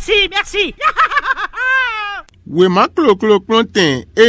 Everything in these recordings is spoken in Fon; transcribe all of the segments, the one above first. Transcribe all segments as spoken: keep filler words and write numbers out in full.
Si, merci. Wěma kloklo kplɔ́ntɛn e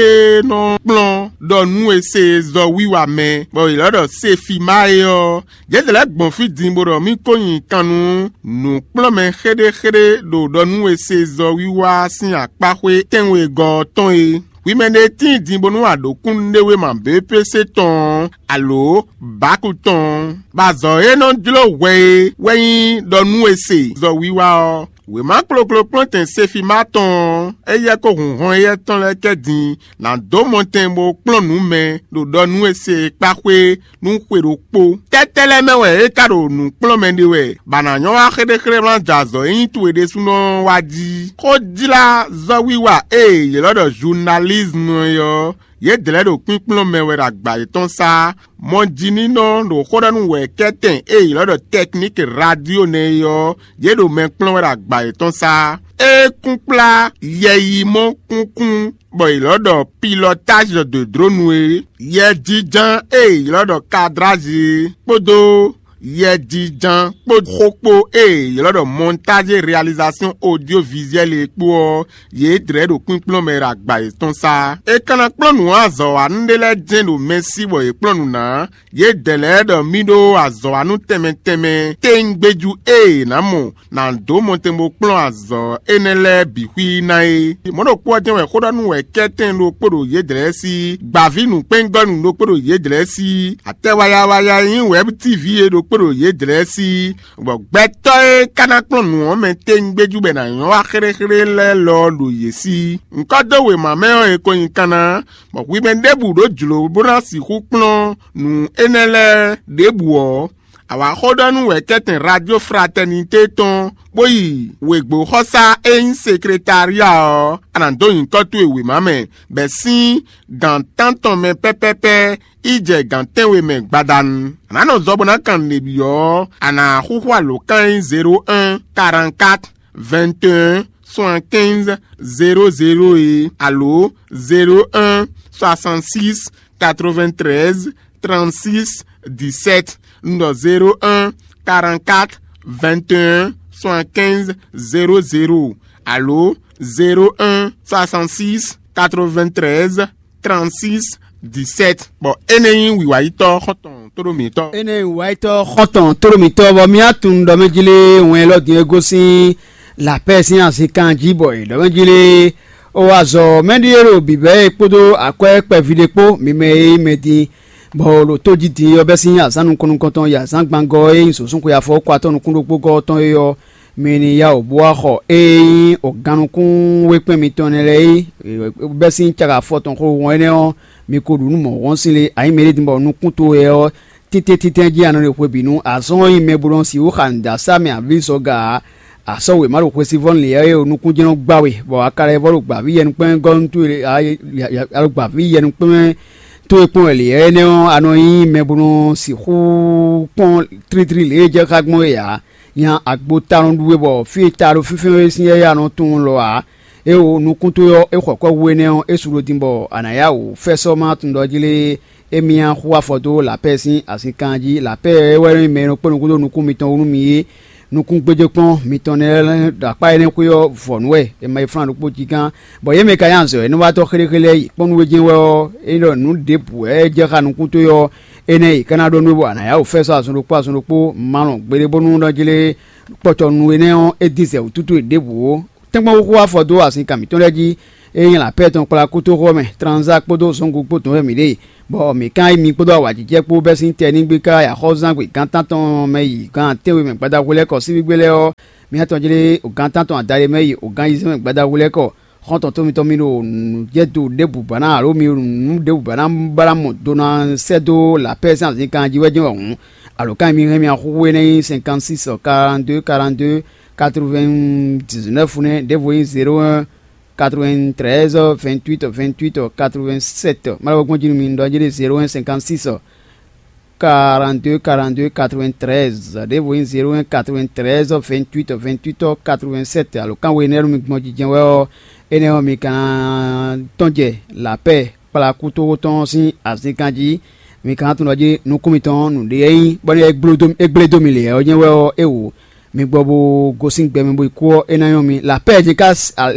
nɔ kplɔ́n ɖɔ nú e se zɔ wiwa mɛ, bɔ è lɔ́ ɖɔ Sefima é ɔ́, yě lɛ́ gbɔn fí din bó ɖɔ mì ko nyi kan nú nǔkplɔ́nmɛ xéɖéxéɖé ɖo ɖɔ nú e se zɔ wiwa sín akpáxwé tɛ́nwegɔ́ ɔ́ tɔn é. Hwi mɛ ɖé tíin din bónú a ɖǒ kúnnuɖewéma B P C tɔn ɔ́, alo Baku tɔn ɔ́, bɔ azɔ̌ e nɔ jló hwɛ é wɛ nyí ɖɔ nú e se zɔ wiwa ɔ́. Wěma kloklo kplɔ́ntɛn Sefima tɔn ɔ́, éyɛ́ kó hun hɔn éyɛ́ tɔn lɛ́ɛ kɛ din ná dó mɔtɛn bó kplɔ́n nǔ mɛ ɖo ɖɔ nú e se e kpá xwé nú xwe ɖokpó. Tɛ́tɛ́ lɛ́ɛ mɛ wɛ é ka ɖo nǔ kplɔ́n mɛ ɖe wɛ, bɔ a nǎ nyɔ́ wá xéɖéxéɖé wlán jɛ azɔ̌ e nyí towe ɖésúnɔ ɔ́ wá jí? Xó jlá zɔ́wiwa e è ylɔ́ ɖɔ zunalízmu é ɔ́, yě dlɛ̌ ɖo kpínkplɔ́n mɛ wɛ ɖo agba yětɔn sá. Mɔjininɔ ɖo xó ɖɔ nú wɛ̌kɛ́tɛn e è ylɔ́ ɖɔ tɛkníki radio nɛ́ é ɔ́, yě ɖo mɛ kplɔ́n wɛ ɖo agba yětɔn sá. É kún kplá yɛyimɔ kúnkún bɔ è ylɔ́ ɖɔ pilɔtázi ɖo dǒdrónu é, yɛjínján e è ylɔ́ ɖɔ kadrázi é, kpódó yɛjínján kpó xó kpó e è ylɔ́ ɖɔ montage réalisation audiovisuelle é kpó ɔ́, yě dlɛ̌ ɖo kpínkplɔ́n mɛ ɖo agba yětɔn sá. È ka ná kplɔ́n nǔ azɔ̌wanú ɖé lɛ́ɛ jɛ́n ɖo mɛ sí bɔ yě kplɔ́n nǔ ná. Yědɛɛ lɛ́ɛ ɖɔ mì ɖó azɔ̌wanú tɛnmɛ tɛnmɛ téŋgbéjú e è nǎ mɔ ná dó mɔtɛn bó kplɔ́n azɔ̌ énɛ́ lɛ́ɛ bǐ xwí ná é. Mɔ̌ ɖokpó ɔ́ jɛ́n wɛ xó ɖɔ nú wɛ kɛ́tɛn ɖokpó ɖo yědɛɛ sí, gbǎví nǔkpɛ́ngɔ́nú ɖokpó ɖo yědɛɛ sí, atɛ wayawaya e nyí wɛ̌b tívi é ɖokpó ɖo yědɛɛ sí, bɔ gbɛtɔ́ e ka ná kplɔ́n nǔ ɔ́ mɛ téŋgbéjú bɔ è nǎ nyɔ́ wá xéɖéxéɖé lɛ́ɛ lɔ ɔ́ ɖo yě sí. Ŋkɔ́ dó wěma mɛ ɔ́, è ko nyi kanna, bɔ hwi mɛ ɖěbǔ ɖó jlǒ bó ná sixú kplɔ́n nǔ énɛ́ lɛ́ɛ ɖěbǔ ɔ́, a wǎ xó ɖɔ nú wɛ̌kɛ́tɛn Radio Fraternité tɔn, bó yi wěgbóxɔsá e nyí sekretária ɔ́, a nǎ dó nyǐkɔ towe wěma mɛ, bɛ̌ sín gǎn tántɔn mɛ pɛ́pɛ́pɛ́ yi jɛ gǎn tɛ́nwe mɛ gbadanu. A nǎ nɔ zɔ bó ná kan nǔɖé byɔ́ ɔ́, a nǎ xúxú alǒkan e nyí zéro un, quarante-quatre, vingt et un, soixante-quinze, zéro zéro é, alo zéro un, soixante-six, quatre-vingt-treize, trente-six, dix-sept. Un ɖɔ zéro un, quarante-quatre, vingt et un, soixante-quinze, zéro zéro, alo zéro un, soixante-six, quatre-vingt-treize, trente-six, dix-sept. Bɔ énɛ́ nyí wǐwáyítɔ́ xɔ́ntɔn tóɖó mǐtɔn. Énɛ́ nyí wǐwáyítɔ́ xɔ́ntɔn tóɖó mǐtɔn, bɔ mì tunwun ɖɔ mɛ jí lé wɛn élɔ́ din e gosín lapɛ́ sín azinkan jí, bɔ è ɖɔ mɛ jí lé ó wá zɔ mɛɖíe ɖo bǐbɛ́ e kpódó akwɛ́ kpɛví ɖé kpó, mi mɛ e nyí mɛ din, bɔ ɖo tó jí din ɔ́ bɛ́ sín azǎn nukɔn nukɔntɔn yi azǎn gbangɔ e nyí zǒsúnxwe afɔwúkɔatɔ́ nukún ɖokpó gɔ́ ɔ́ tɔn é ɔ́, mi ní yá wǔ bó wá xɔ ée nyí gannukúnwékpɛ́n mitɔn nɛ́ lɛ́ɛ é, bɛ́ sín caga afɔ tɔn xo wɔn énɛ́ ɔ́, mi ko ɖu nú mɔ̌ wɔ́n sín lé, a nyǐ mɛ ɖé din bɔ nukún towe ɔ́ títɛ́ntítɛ́n jí a nɔ ɖe hwebǐnu. Azɔn ɔ́ nyí mɛ bo nɔ sixú xa nǔɖasá mɛ avlízɔga ǎ. A sɔ́ wěma ɖo xwesivɔ́ lǐnlɛ́ e ɖo nukúnjɛ́nɔ gbá we, bɔ a ka lɛ́ vɔ́ ɖo gbǎví yɛnukpɛ́ngɔ́nú towe, a ɖo gbǎví yɛnukpɛ́n towe kpɔ́n wɛ lě énɛ́ ɔ́, a nɔ nyí mɛ bo nɔ sixú kpɔ́n tlítlí lě e jɛ xá gbɔn é ǎ. Nya agbo ta nɔ ɖu we, bɔ fí e ta ɖo fínfɛ́n we sín yɛ́yɛ́ a nɔ tunwun lɔ ǎ. É wo nukún towe ɔ́, é xɔ kɔ́ hu énɛ́ ɔ́, é su ɖo din bɔ a nǎ yá wǔ fɛ́sɔ́ má tun ɖɔ jí lé. Émí ná xú afɔ dó lapɛ́ sín azinkan jí. Lapɛ́ é wɛ nyí mɛ e nɔ kpé nukún dó nukún mitɔn wú nú mi é. Nukúngbéjékpɔ́n mitɔn nɛ́ lɛ́ɛ ɖo akpá énɛ́ xwé ɔ́ vɔ̌ nú wɛ, è ma yi flán ɖokpó jí gán, bɔ yě mɛ ka nyí azɔ̌ e nɔ wá tɔ́ xéɖéxéɖé yi kpɔ́n nú we jɛ́n wɛ ɔ́, é ɖɔ nǔ ɖěbǔ wɛ é jɛ xá nukún towe ɔ́, énɛ́ yi ka ná ɖɔ nú we bɔ a nǎ yá wǔ fɛ́ sɔ́ azɔn ɖokpó azɔn ɖokpó, ma lɔn gbeɖé bónú nɔ jlé kpɔtɔ nú énɛ́ ɔ́, é dín zɛ wǔtútú e ɖěbǔ ó. Tɛ́nkpɔ́n xóxó afɔ dó azinkan mǐtɔn lɛ́ɛ jí, é nyí lapɛ́ tɔn kplá kútóxɔ mɛ, Tranzá kpódó Zɔ́ngú kpó tɔn wɛ mǐ ɖe, bɔ mǐ ka nyí mi kpódó awǎjijɛ kpó bɛ́ sín tɛnígbe ká yi axɔ́zán gbe gǎn tántɔn mɛ yi gǎn tɛ́nwe mɛ gbadahwlɛ́kɔ síbígbe lɛ́ɛ ɔ́, mi ná tɔn jlé gǎn tántɔn adaɖé mɛ yi gǎn ayizɛ́n mɛ gbadahwlɛ́kɔ. Xɔ́ntɔn tó mitɔn mi ɖo nǔjɛdo ɖěbǔ ba ná alo mi ɖo nǔ ɖěbǔ ba ná ba ná mɔ do ná sɛ́ dó lapɛ́ sín azinkan jí wɛ jɛ́n wɛ hǔn, alǒkan e mi hɛn mi axúxú énɛ́ nyí cinquante-six, quarante-deux, quarante-deux, quatre-vingt-dix-neuf nɛ́, ɖěvo nyí zéro un, quatre-vingt-treize, vingt-huit, vingt-huit, quatre-vingt-sept. Má lɛ́ gbɔn jí nú mi, un ɖɔ jí ɖe zéro un, cinquante-six, quarante-deux, quarante-deux, quatre-vingt-treize, ɖěvo nyí zéro un, quatre-vingt-treize, vingt-huit, vingt-huit, quatre-vingt-sept. Alǒkan we énɛ́ nú mi gbɔn jijɛ wɛ ɔ́, énɛ́ ɔ́, mi ka ná tɔ́n jɛ lapɛ́ kplá kútóxó tɔn sín azinkan jí. Mi ka ná tunwun ɖɔ jí nukún mitɔn nǔɖé e nyí bɔ é gblé dó mi lě ɔ́ nyɛ wɛ ɔ́, é wǒ. mi gbɔ bó gosín gbɛ mɛ bó yi kú ɔ́, é ná nyɔ́ mi. Lapɛ́ɛ jɛ́n ka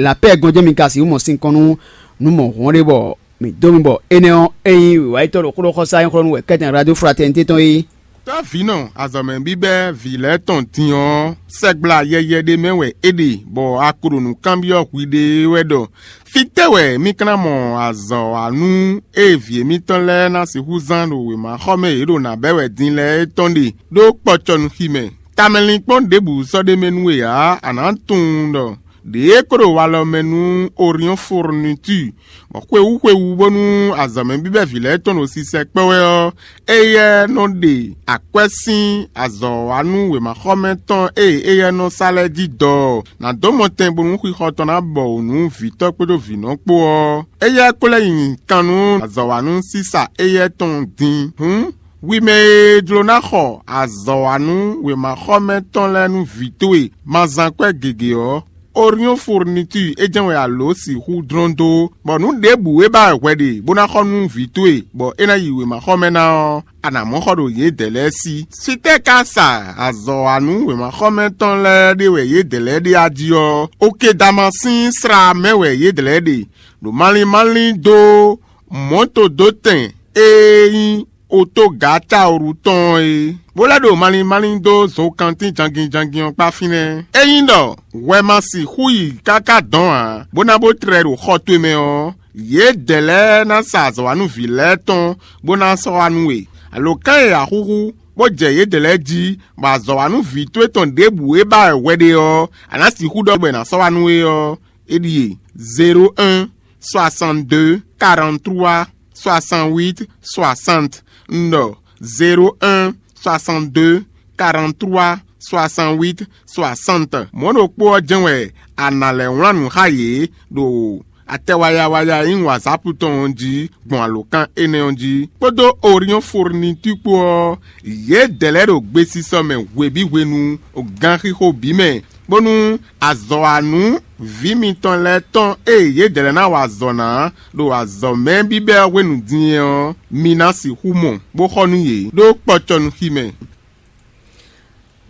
lapɛ́ɛ gɔ́n jɛ́n mi ka sixú mɔ sinkɔn nú nǔ mɔ̌hun ɔ́ ɖé bɔ mǐ dó mi bɔ énɛ́ ɔ́, ényí wǐwáyítɔ́ ɖo xó ɖɔ xɔsá nyí xlɔ́ nú wɛ kɛ́tɛn Radio Fraternité tɔn é. Tɔ́ vǐnɔ azɔ̌mɛ bíbɛ́ vǐ lɛ́ɛ tɔn din ɔ́, sɛgbla yɛyɛ ɖé mɛ wɛ é ɖe, bɔ a ko ɖo nǔ kanbyɔ́ hwi ɖe wɛ ɖɔ: Fítɛ́ wɛ mì ka ná mɔ azɔ̌ wa nú ée vǐ émítɔn lɛ́ɛ ná sixú zán ɖo wěmaxɔmɛ e yě ɖo nǎ bɛ́ wɛ din lɛ́ɛ é tɔn ɖe ɖó kpɔcɔnuxi mɛ? Tamɛlinkpɔ́n ɖěbǔ sɔ́ ɖ'é mɛ nú we ǎ; a nǎ tunwun ɖɔ ɖě e ko ɖo walɔ mɛ nú Oriɔ́n Fourniture, bɔ xwewú xwewú bónú azɔ̌mɛ bíbɛ́ vǐ lɛ́ɛ tɔn ɖo sisɛ kpɔ́ wɛ ɔ́, éyɛ́ nɔ ɖe akwɛ́ sín azɔ̌ wa nú wěmaxɔmɛ tɔn e éyɛ́ nɔ sa lɛ́ɛ jí dɔ ɔ́, nǎ dó mɔtɛn bónú xixɔ tɔn ná bɔ wǔ nú vǐtɔ́ kpódó vǐnɔ kpó ɔ́, éyɛ́ ko lɛ́ nyi kan nú azɔ̌ wa nú sísa éyɛ́ tɔn din. Hǔn, hwi mɛ e jló ná xɔ azɔ̌ wa nú wěmaxɔmɛ tɔn lɛ́ɛ nú vǐ towe ma zán kwɛ́ gěgé ɔ́, Oriɔ́n Fourniture é jɛ́n wɛ a lǒ sixú dlɔ́n dó, bɔ nǔ ɖěbǔ e ba wɛ hwɛ ɖe bó ná xɔ nú vǐ towe, bɔ é ná yi wěmaxɔmɛ ná ɔ́, a nǎ mɔ xɔ ɖo yědɛɛ lɛ́ɛ sí. Fítɛ́ ka sa azɔ̌ wa nú wěmaxɔmɛ tɔn lɛ́ɛ ɖe wɛ yědɛɛ lɛ́ɛ ɖe a jí ɔ́, Okedama sín sla mɛ wɛ yědɛɛ lɛ́ɛ ɖe, ɖo malín málín dó mɔ̌todótɛn e nyí otógǎcawru tɔn ɔ́ é, bó lɛ́ ɖo malín málín dó zokantín jangin jangin ɔ́ kpá fínɛ́. Ényí ɖɔ hwɛ ma sixú yi káká dɔ̌n ǎ, bó ná bó tlɛ ɖo xɔ towe mɛ ɔ́, yědɛɛ lɛ́ɛ ná sa azɔ̌wanúvǐ lɛ́ɛ tɔn bó ná sɔ́ wá nú we. Alǒkan e a xúxú, bó jɛ yědɛɛ lɛ́ɛ jí, bɔ azɔ̌wanúvǐ towe tɔn ɖěbǔ e ba wɛ hwɛ ɖe ɔ́, a nǎ sixú ɖɔ bɔ è nǎ sɔ́ wá nú we ɔ́, é ɖíe: zéro un, soixante-deux, quarante-trois, soixante-huit, soixante. Un ɖɔ: zéro un, soixante-deux, quarante-trois, soixante-huit, soixante. Mɔ̌ ɖokpó ɔ́ jɛ́n wɛ a nǎ lɛ́ wlán nǔ xá yě ɖo atɛ waya waya e nyí WhatsApp tɔn ɔ́ jí gbɔn alǒkan énɛ́ ɔ́ jí, kpódó Oriɔ́n Fourniture kpó ɔ́, yědɛɛ lɛ́ɛ ɖo gbesisɔ mɛ hwebǐ hwenu, ganxixo bǐ mɛ, bónú azɔ̌wanú vǐ mitɔn lɛ́ɛ tɔn e yědɛɛ lɛ́ɛ ná wa azɔ̌ ná ɖo azɔ̌ mɛ bíbɛ́ ɔ́ hwenu din é ɔ́, mi ná sixú mɔ, bó xɔ nú yě ɖó kpɔcɔnuxi mɛ.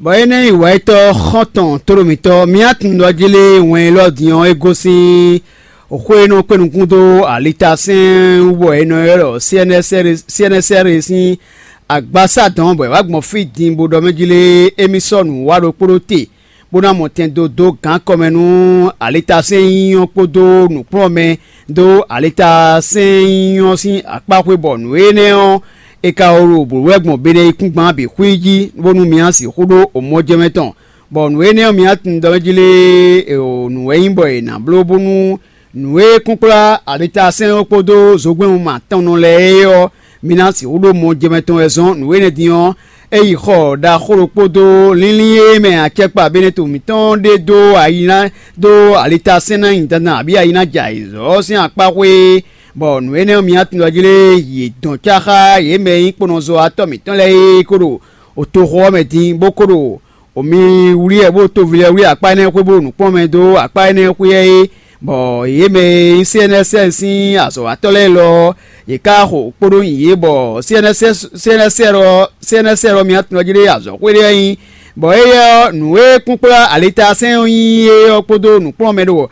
Bɔ énɛ́ nyí wǎyítɔ́ xɔ́ntɔn tlóló mǐtɔn, mǐ tunwun ɖɔ jí lé wɛn élɔ́ din ɔ́, é gosín xwé e nɔ kpé nukún dó alitasɛ́n wú, bɔ è nɔ ylɔ́ ɖɔ C N S R, C N S R sín agbasá dɔn, bɔ è wǎ gbɔn fí din bó ɖɔ mɛ jí lé émí sɔ́ nǔ wa ɖokpó ɖó te, bó ná mɔ tɛn dó dó gǎn kɔmɛ nú alitasɛ́n nyínyɔ́ kpódó nǔkplɔ́nmɛ dó alitasɛ́n nyínyɔ́ sín akpá xwé, bɔ nǔ énɛ́ ɔ́, è ka wǒ ɖo bǒ wɛ gbɔn Beneyíkúngban bǐ xwí jí, bónú mi ná sixú ɖó omɔjɛmɛ tɔn, bɔ nǔ énɛ́ ɔ́, mi ná tunwun ɖɔ mɛ jí lé nǔ wɛ nyí bɔ è nǎ bló bónú nǔ e kúnkplá alitasɛ́n ɔ́ kpódó zogbɛ́nwun atɔnnɔ lɛ́ɛ é ɔ́, mi ná sixú ɖó mɔjɛmɛ tɔn wɛ zɔ́n. Nǔ énɛ́ din ɔ́, é yi xɔ ɖaxó ɖokpó dó línlín e mɛ acɛkpa Beneto mǐtɔn ɖe dó ayi ná dó alitasɛ́n ná nyi dandan abǐ ayi ná jɛ ayǐzɔ́ ɔ́ sín akpá xwé, bɔ nǔ énɛ́ ɔ́, mi ná tunwun ɖɔ jí lé yě dɔn cá xá yě mɛ e nyí kponɔzɔ́watɔ́ mǐtɔn lɛ́ɛ é kó ɖo otoxo ɔ́ mɛ din, bó kó ɖo o mi wlí ɛ bó toví lɛ́ɛ wlí akpá énɛ́ xwé bó nǔkplɔ́nmɛ dó akpá énɛ́ xwé ɔ́ é, bɔ yě mɛ e nyí C N S R sín azɔ̌watɔ́ lɛ́ɛ lɔ ɔ́, yě ká xo kpódó nyi yě, bɔ C N S R, C N S R ɔ́, C N S R ɔ́, mi ná tunwun jí ɖé azɔ̌xwé ɖé wɛ nyí, bɔ éyɛ́ ɔ́, nǔ e kúnkplá alitasɛ́n ɔ́ nyí é ɔ́ kpódó nǔkplɔ́nmɛ ɖo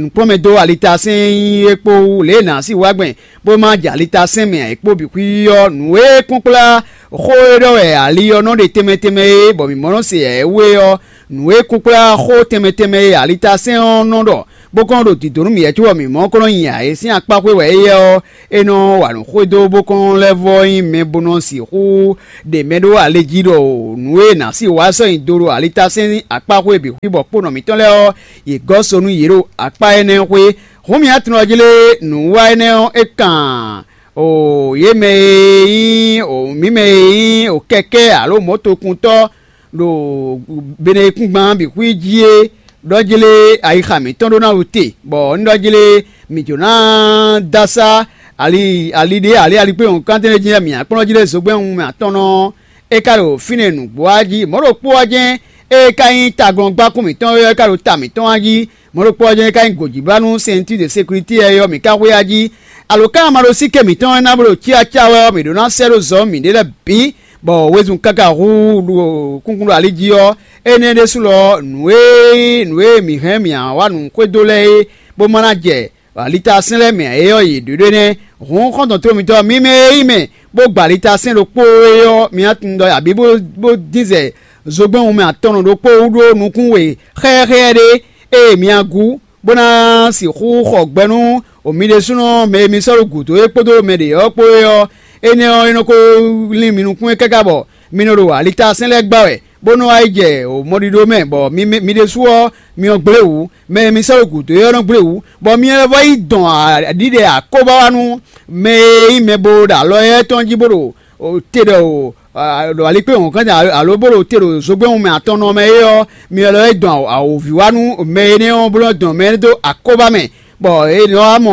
nǔkplɔ́nmɛ dó alitasɛ́n nyí é kpó wú lě e nǎ sí wá gbɛn bó má jɛ alitasɛ́n mɛ ǎ é kpó bǐ xwí ɔ́, nǔ e kúnkplá xó e ɖɔ wɛ ali ɔ́ nɔ ɖe tɛnmɛ tɛnmɛ é, bɔ mǐ mɔ nɔ se ǎ é wú é ɔ́, nǔ e kúnkplá xó tɛnmɛ tɛnmɛ e alitasɛ́n ɔ́ nɔ ɖɔ, bó kɔn ɖo dǐdó nú mǐ wɛ cóbɔ mǐ mɔ kɔn nɔ nyi ǎ é sín akpá xwé wɛ éyɛ́ ɔ́, é nɔ wa nǔ xwedó bó kɔn lɛ́ vɔ́ nyí mɛ bó nɔ sixú ɖe mɛ ɖó ale jí ɖɔ nǔ e nǎ sí wá sɔ́ nyi do ɖo alitasɛ́n akpá xwé bǐ xwí bɔ kpónɔ mǐtɔn lɛ́ɛ ɔ́, yě gɔ́ so nú yě ɖo akpá énɛ́ xwé. Hǔn mi ná tunwun jí lé nǔwa énɛ́ ɔ́, é kan o yě mɛ e nyí o mǐ mɛ e nyí o kɛkɛ́ alo mɔ̌tokuntɔ́ ɖo Beneyíkúngban bǐ xwí jí é ɖɔ jí lé ayixa mǐtɔn ɖó ná wú te, bɔ un ɖɔ jí lé mǐ jǒ ná dó asá ali ali ɖé ali ali kpé nyɔ̌nu kantɛ́nɛ́ jí lɛ́ɛ mǐ ná kplɔ́n jí lé zogbɛ́n wunmɛ atɔ́nɔ ɔ́, é ka ɖo fínɛ́ nǔgbó ɔ́ jí. Mɔ̌ ɖokpó ɔ́ jɛ́n ée é ka nyí taglɔ́ngbákún mǐtɔn é ɔ́, é ka ɖo ta mǐtɔn ɔ́ jí. Mɔ̌ ɖokpó ɔ́ jɛ́n é ka nyí gǒjíbánú sɛntír de sécurité ɔ́, mǐ ka xwé a jí. Alǒkanmaɖósíké mǐtɔn e ná bó ɖo cácá wɛ ɔ́, mǐ ɖó ná sɛ́ ɖó zɔ mǐɖée lɛ́ɛ bǐ, Bɔ wezun káká hú ɖo kúnkún ɖo ali jí ɔ́, énɛ́ ɖésú lɔ nǔ e nyí nǔ e mǐ hɛn mǐ wá nǔ xwedó lɛ́ɛ é, bó ma ná jɛ alitasɛ́n lɛ́ɛ mɛ ǎ é ɔ́, yě ɖǒ ɖó énɛ́. Hǔn xɔ́ntɔn tlóló mitɔn mímɛ́ e nyí mɛ bó gba alitasɛ́n ɖokpó é ɔ́, mi ná tunwun ɖɔ abǐ bó dín zɛ zogbɛ́n wunmɛ atɔnnɔ ɖokpó wú ɖó nukún we xɛ́xɛ́ ɖé e mi ná gú, bó ná sixú xɔ gbɛ nú mi ɖésúnɔ mɛ e mi sɔ́ ɖo gǔdo é kpódó mɛ ɖě ɔ́ kpó é ɔ́, énɛ́ ɔ́, é nɔ ko lín mi nukún é káká bɔ mi nɔ ɖo alitasɛ́n lɛ́ɛ gbá wɛ, bó nɔ wá yi jɛ mɔɖiɖo mɛ, bɔ mi mi ɖésú ɔ́, mi nɔ gblé wǔ. Mɛ e mi sɔ́ ɖo gǔdo é ɔ́ nɔ gblé wǔ, bɔ mi lɛ́ vɔ yi dɔn aɖǐɖɛ akóbá wá nú mɛ e nyí mɛ bo ɖo alɔ éyɛ́ tɔn jí bó ɖo te ɖɔ ɖo alikpé wɔ̌nkɔ́n alo bó ɖo te ɖo zogbɛ́n wunmɛ atɔnnɔ mɛ é ɔ́, mi wɛ lɔ é dɔn awǒvi wá nú mɛ énɛ́ ɔ́, bó nɔ́ dɔn mɛ énɛ́ dó akóbá mɛ, bɔ è nɔ wá mɔ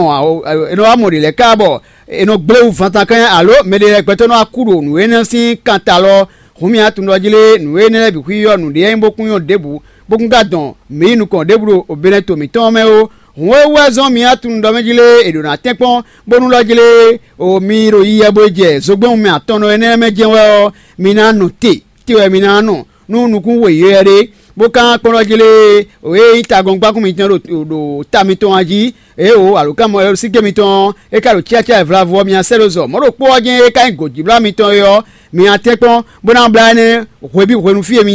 è nɔ wá mɔ ɖě lɛ́ɛ ká bɔ è nɔ gblé wú vantankɛn alo mɛɖé lɛ́ɛ gbɛtɔ́ nɔ wá kú ɖo nǔ énɛ́ sín kan ta lɔ. Hǔn mi ná tunwun ɖɔ jí lé, nǔ énɛ́ lɛ́ɛ bǐ xwíyɔ́ nǔɖé nyí bó kún nyɔ́ ɖěbǔ, bó kún ka dɔn mǐ yi nukɔn ɖěbǔ ɖo Benɛto mǐtɔn ɔ́ mɛ ó. Hǔn é wú wɛ zɔ́n mi ná tunwun ɖɔ mɛ jí lé, è ɖǒ ná tɛ́nkpɔ́n bónú ɖɔ jí lé, o mi ɖo yiyɛ bo yi jɛ zogbɛ́n wunmɛ atɔnnɔ énɛ́ mɛ jɛ́n wɛ ɔ́, mi ná nɔ te, te wɛ mi ná nɔ nú nukún weyɛ́ ɖé, bó ka kpɔ́n ɖɔ jí lé, o e nyí tagɔ́ngbákún mitɔn ɖo ɖo ta mitɔn a jí, ée o alǒkanmɔyɔ́síké mitɔn ɔ́, é ka ɖo cyácá e vlavo ɔ́ mi ná sɛ́ ɖó zɔ. Mɔ̌ ɖokpó ɔ́ jɛ́n é ka nyí gǒjíblá mitɔn é ɔ́, mi ná tɛ́nkpɔ́n bó ná blá énɛ́ hwebǐ hwenu fí e mi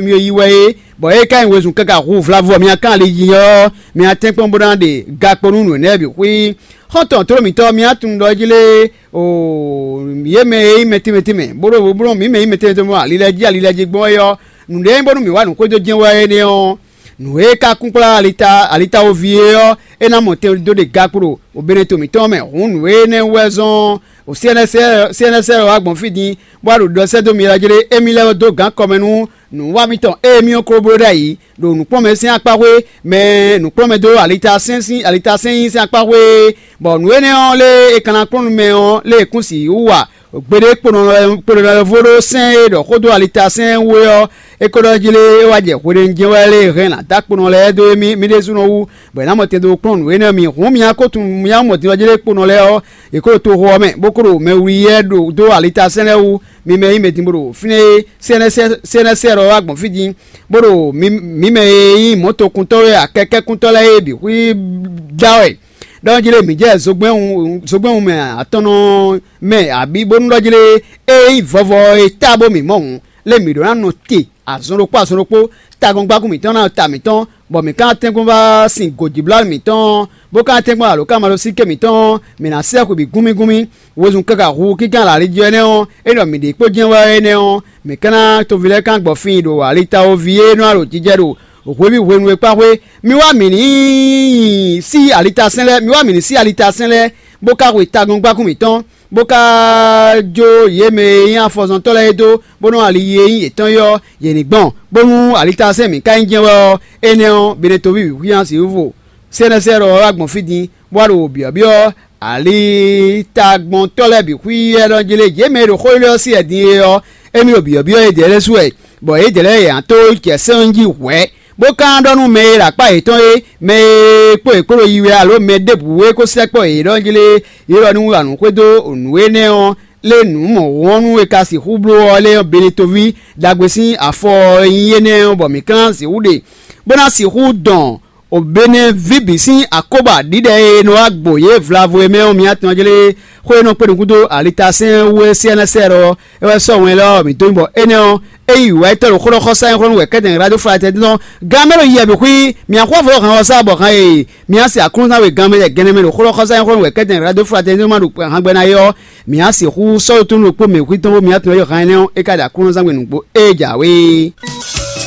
mi yi wɛ é, bɔ é ka nyí wezun káká hu vlavo ɔ́ mi ná kán ali yi ɔ́, mi ná tɛ́nkpɔ́n bó ná ɖe gakpo nú nǔ énɛ́ bǐ xwí. Xɔ́ntɔn tlóló mǐtɔn, mi ná tunwun ɖɔ é jí lé, o yě mɛ e nyí mɛ tɛnmɛ tɛnmɛ, bó ɖo bó ɖo mǐ mɛ e nyí mɛ tɛnmɛ tɛnmɛ ali lɛ́ɛ jí ali lɛ́ɛ jí gbɔn é ɔ́, nǔɖé nyí bónú mǐ wa nǔ xwedó jɛ́n wɛ énɛ́ ɔ́, nǔ e ka kún kplá alita alitawoví é ɔ́, é ná mɔ tɛn dó ɖe gakpo ɖo Benɛto mǐtɔn mɛ. Hǔn nǔ énɛ́ wɛ zɔ́n sɛ́nɛsɛ́ wá gbɔn fí din, bó wá ɖo ɖɔ sɛ́ dó mi lɛ́ɛ jlé, émí lɛ́ dó gǎn kɔmɛ nú nǔwa mitɔn e mì ko bló ɖ'ayǐ ɖo nǔkplɔ́nmɛ sín akpáxwé, mɛ nǔkplɔ́nmɛ dó alitasɛ́n sín alitasɛ́n nyi sín akpáxwé, bɔ nǔ énɛ́ ɔ́ lé e ka ná kplɔ́n nú mɛ ɔ́ lé e kún sixú wa gbeɖé kponɔ lɛ́ɛ vo ɖó sɛ́n e ɖɔ xó dó alitasɛ́n wú é ɔ́, é ko ɖɔ jí lé é wá jɛ hweɖénu jɛ́n wɛ lé e hɛn nǎ dó akponɔ lɛ́ɛ dó émí mì ɖésúnɔ wú, bɔ è nǎ mɔ tɛn dó kplɔ́n nǔ énɛ́ mi. Hǔn mi ná ko tunwun mi ná mɔ din ɔ́ jí lé kponɔ lɛ́ɛ ɔ́, è ko ɖo toxo ɔ́ mɛ, bó ko ɖo mɛwliyɛ́ ɖo dó alitasɛ́n lɛ́ɛ wú. Mi mɛ e nyí mɛ din bó ɖo fínɛ́ é, sɛ́nɛsɛ́ ɔ́ wá gbɔn fí din, bó ɖo mǐ mɛ e nyí mɔ̌tokuntɔ́ wɛ akɛkɛ́kuntɔ́ lɛ́ɛ é bǐ xwí dá wɛ. Ɖɔ jí lé mǐ jɛ zogbɛ́n wun zogbɛ́n wun mɛ atɔ́nɔ mɛ abǐ bónú ɖɔ jí lé é nyí vɔvɔ e tá bó mǐ mɔ hǔn, lé mǐ ɖó ná nɔ te azɔn ɖokpó azɔn ɖokpó, tagɔ́ngbákún mǐtɔn ná ta mǐtɔn, bɔ mǐ ka ná tɛ́nkpɔ́n vá sin gǒjíblánú mǐtɔn, bó ka ná tɛ́nkpɔ́n alǒkanmaɖósíké mǐtɔn, mǐ ná sɛ́ xwe bǐ gúnmí gúnmí. Wezun káká hu kínkán lǎlí jí énɛ́ ɔ́, é ɖɔ mǐ ɖě kpó jɛ́n wɛ énɛ́ ɔ́, mǐ ka ná toví lɛ́ɛ kán gbɔ fíin ɖo alitawoví e nɔ ɖo jijɛ ɖo hweví hwenu e kpá xwé. Mi wá mǐ ní sí alitasɛ́n lɛ́ɛ, mi wá mǐ ní sí alitasɛ́n lɛ́ɛ, bó ka hwe tagɔ́ngbákún mǐtɔn, bó ka jó yě mɛ e nyí afɔzɔntɔ́ lɛ́ɛ é dó, bónú ali e nyí yětɔn é ɔ́, yě ní gbɔn, bónú alitasɛ́n mǐ ka nyí jɛ́n wɛ ɔ́, énɛ́ ɔ́, Benɛtoví bǐ xwíán sixú vo sɛ́nɛsɛ́ ɖɔ ɔ́ wá gbɔn fí din, bó wá ɖo byɔ̌byɔ́ alitagbɔntɔ́ lɛ́ɛ bǐ xwíyɛ́ ɖɔ jí lé. Yě mɛ e ɖo xó élɔ́ ɔ́ sí wɛ din é ɔ́, émí ɖo byɔ̌byɔ́ yědɛɛ lɛ́ɛ su wɛ, bɔ yědɛɛ lɛ́ɛ yě ná tó jɛ sɛ́n ɔ́ jí hwɛ̌, bó ka ɖɔ nú mɛ e ɖo akpá yětɔn é, mɛ e kpó yě kpó ɖo yi wɛ alo mɛ ɖěbǔ e ko sɛkpɔ́ yě ɖɔ jí lé, yě ɖɔ nú wǎ nú xwedó nǔ énɛ́ ɔ́, lé nǔ mɔ̌hunhɔ́nú e ka sixú bló ɔ́ lé ɔ́, Benetoví ɖagbe sín afɔ e nyí énɛ́ ɔ́, bɔ mǐ ka ná sixú ɖe, bó ná sixú dɔn Obeneví bǐ sín akóbɔ aɖǐɖɛ e è nɔ wá gbo yě vlavo e mɛ ɔ́, mi atɔn jlé xó e nɔ kpé nukún dó alitasɛ́n wú é syɛ́nɛ́sɛ́ ɔ́, é wɛ sɔ́ wɛn élɔ́ ɔ́ mǐ dó nyí bɔ énɛ́ ɔ́, é yi wǔ wá yi tɔ́ ɖo xó ɖɔ xɔsá nyí xó nú wɛ kɛ́tɛn Glado Fratɛ́n tɔn. Gan mɛ ɖo yiyɛ bǐ xwí, mì axwá vɔ hɛn ɔ́ sá bɔ han e mì á se Aklúnɔzán we gan mɛ lɛ gɛnɛ mɛ ɖo xó ɖɔ xɔsá nyí xó nú wɛ kɛ́tɛn Glado Fratɛ́n tɔn ma ɖo hangbɛ ná é ɔ́, mì á sixú sɔ́ ɖo tónú ɖokpó mɛ xwí tɔn bó mì á tunwun ɖɔ han énɛ́ ɔ́, é ka ɖo Aklúnɔzán we nǔgbó é jǎwe.